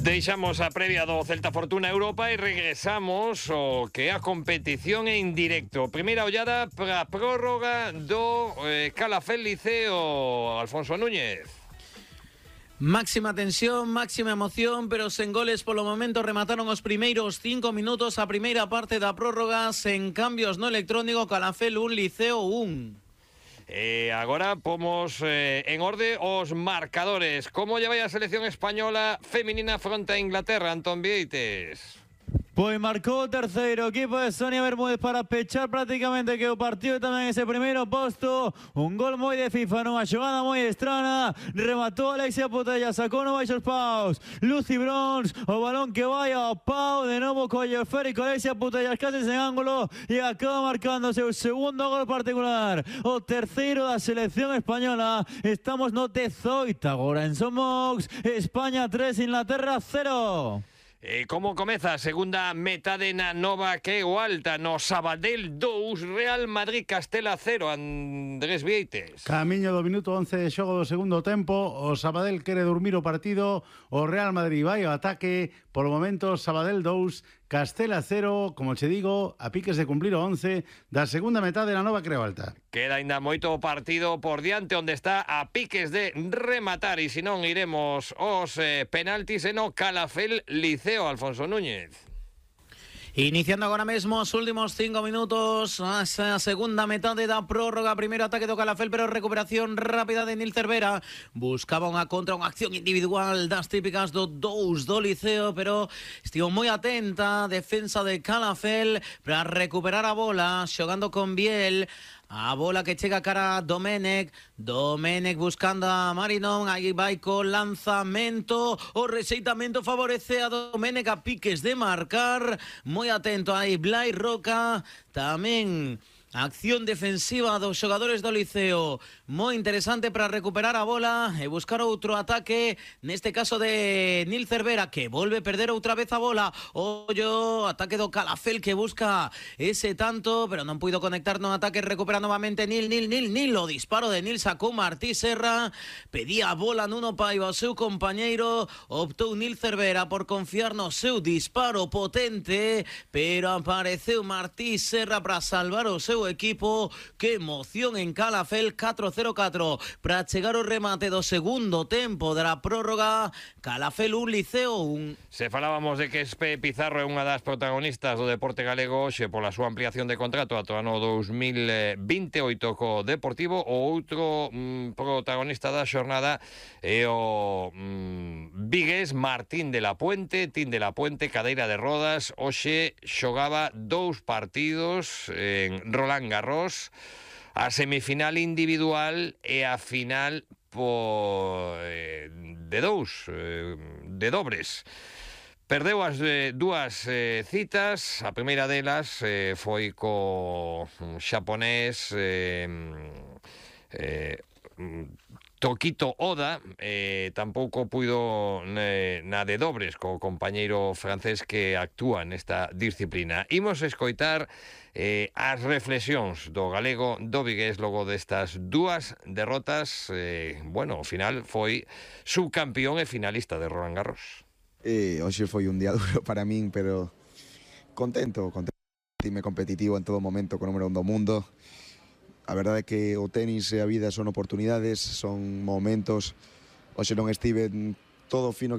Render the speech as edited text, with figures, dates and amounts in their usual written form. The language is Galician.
Deixamos a previa do Celta Fortuna Europa e regresamos o que é a competición en directo. Primeira ollada para a prórroga do Calafell Liceo, Alfonso Núñez. Máxima tensión, máxima emoción, pero sen goles polo momento. Remataron os primeiros 5 minutos a primeira parte da prórroga, sen cambios no electrónico. Calafell 1, Liceo 1. Agora pomos en orde os marcadores. Como lle vai a selección española feminina fronte a Inglaterra, Antón Vieites? Pois marcou o terceiro equipo de Sonia Bermúdez para pechar prácticamente que o partido tamén ese primeiro posto. Un gol moi de FIFA nunha xogada moi estrana. Rematou Alexia Putella, sacou no baixos paus Lucy Brons, o balón que vai ao pau. De novo colle o esférico Alexia Putella case en ángulo e acaba marcando seu segundo gol particular, o terceiro da selección española. Estamos no 18 agora en Somox. España 3, Inglaterra 0. Como comeza a segunda metade na Nova que o Alta, no Sabadell 2, Real Madrid Castela 0, Andrés Vieites. Camiño do minuto 11 de xogo do segundo tempo, o Sabadell quere dormir o partido, o Real Madrid vai ao ataque. Por o momento Sabadell 2, Castela 0, como che digo, a piques de cumplir o 11 da segunda metade na Nova Creo Alta. Queda ainda moito partido por diante, onde está a piques de rematar, e se non iremos os penaltis e no Calafell Liceo, Alfonso Núñez. Iniciando agora mesmo os últimos 5 minutos, a segunda metade da prórroga. Primeiro ataque do Calafell, pero recuperación rápida de Nil Cervera. Buscaba unha contra, unha acción individual das típicas do 2 do Liceo, pero estivo moi atenta a defensa de Calafell para recuperar a bola, xogando con Biel. A bola que chega cara a Domenech buscando a Marinon. Aí vai co lanzamento, o rexeitamento favorece a Domenech, a piques de marcar. Moi atento aí Blai Roca. Tamén acción defensiva dos xogadores do Liceo, moi interesante para recuperar a bola e buscar outro ataque, neste caso de Nil Cervera, que volve a perder outra vez a bola. Ollo, ataque do Calafell que busca ese tanto, pero non puido conectar no ataque. Recupera novamente Nil. O disparo de Nil sacou Martí Serra, pedía a bola Nuno Paiva ao seu compañeiro. Optou Nil Cervera por confiar no seu disparo potente, pero apareceu Martí Serra para salvar o seu equipo. Que emoción en Calafell. 4-0-4 para chegar o remate do segundo tempo da prórroga. Calafell 1, Liceo 1. Se falábamos de que Espe Pizarro é unha das protagonistas do deporte galego hoxe pola súa ampliación de contrato ata o ano 2028 co Deportivo, o outro protagonista da xornada é o vigués Martín de la Puente. Tin de la Puente, cadeira de rodas, hoxe xogaba 2 partidos en Roland Garros, a semifinal individual e a final de dobres. Perdeu as dúas citas. A primeira delas foi co xaponés Tokito Oda. Tampouco puido na de dobres co compañeiro francés que actúa nesta disciplina. Imos escoitar as reflexións do galego do vigués logo destas dúas derrotas. Ao final foi subcampeón e finalista de Roland Garros. Hoxe foi un día duro para min, pero contento, time competitivo en todo momento, co número 1 do mundo. A verdade é que o tenis e a vida son oportunidades, son momentos. Hoxe non estive todo fino que